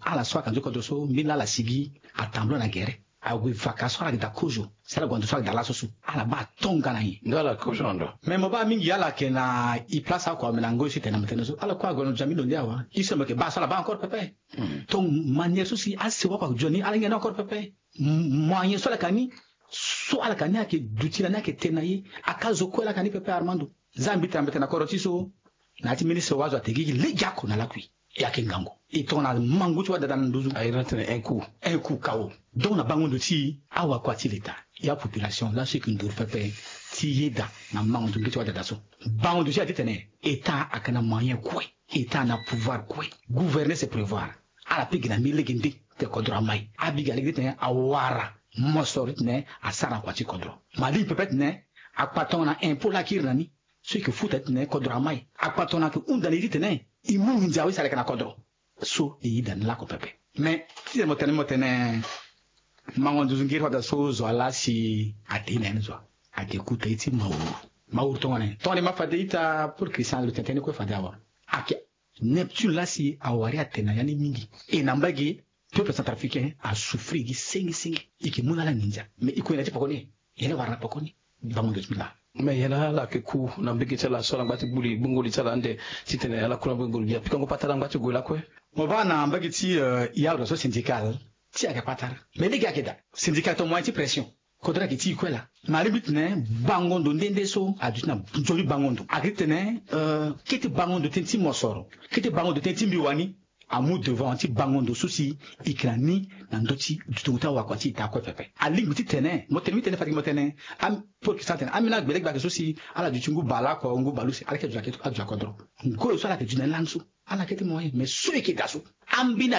ala so ayeke na ndö ti kodro so mbeni laa ala sigi atambula na gere, ague vaka so ala yeke daa kozo si ala gue na ndo so ala yeke daa laso so, ala baa atonga na nyen? Nga ala kozo na ndo. Me mo baa mingi ala yeke na e place akua me na ngoi so e tene na mo tene so ala kue ague na ndo ti ami lo nde awa. E so mo yeke baa so ala baa encore pepe. Donc manière so si asewa kua ague dio ni ala ngia ni encore pepe. Moyen so ala yeke na ni, so ala yeke na ni ayeke duti na ni ayeke tene na ye. Aka zo kue laa ayeke na ni pepe Armando. Za mbi tene na mbi tene na kodro ti so na ya ti ministre wa azo atene gigi legeoko na lakui. E ayeke ngangu. E tongana mangu ti wadada na nduzu. Aye na tene un coup. Un coup kawo. Donc na bango ndo ti e, awakua ti leta, ya population laso e yeke nduru pepe ti yeda na mango ndo nge ti wadada so. Bango ndo ti e ati tene État ayeke na moyen kue. État na pouvoir kue. Gouverner c'est prévoir. Ala pe gi na mbi lege nde te kodro amai. Abi gi na lege nde titene awara mosoro titene asara na kua ti kodro. Ma lingbi pepe titene akpa tongana impôt laa akiri na ni so e yeke futa titene kodro amai. Akpa tongana ayeke hunda na e titene e mu nginza awe si ala yeke na kodro. So e yeda ni laoko pepe. Mais titene mo tene mo tene mango nduzu ngiri fada so zo wa laa si ate ye na ya ni zo wa. Ayeke kuta ye ti mawuru. Mawuru tongana nyen? Tongana e ma fade ita pour Christian lo tene tënë ni kue fade awa. Ayeke Neptune laa si awari atene na ya ni mingi. E na mbage peuple centrafricain asouffrir gi senge senge. E yeke mu na ala nginza. Mais e kue na ya ti pekoni. Ye ni wara na pekoni. Bango ndo ti mbi laa. Mais ye laa ala yeke ku na mbage ti ala so ala ngba ti gbu li gbungo li ti ala ande titene ala ku na mbage nguru gbia pikango patara ala ngba ti gue lakue. Mo baa na mbage ti ya lo so syndical ti ayeke patara. Mais lege ayeke daa syndical tongana moyen ti pression. Kodro ayeke ti e kue laa. Na alingbi titene bango ndo nde nde so aduti na nzoni bango ndo ayeke titene kete bango ndo tënë ti mosoro, kete bango ndo tënë ti mbi wani. Amu devant ti bango ndo so si e yeke na ni na ndö ti dutingo ti awakua ti e taa kue pepe. Alingbi titene mo tene mbi tene fade gi mo tene, am, pour que sa tene ambeni agbelegbe ayeke so si ala duti ngu bale oko ngu bale use ala yeke duti ake aduti akodro. Ngoi so ala yeke duti na ni lani so ala yeke ti moyen mais so e yeke daa so ambeni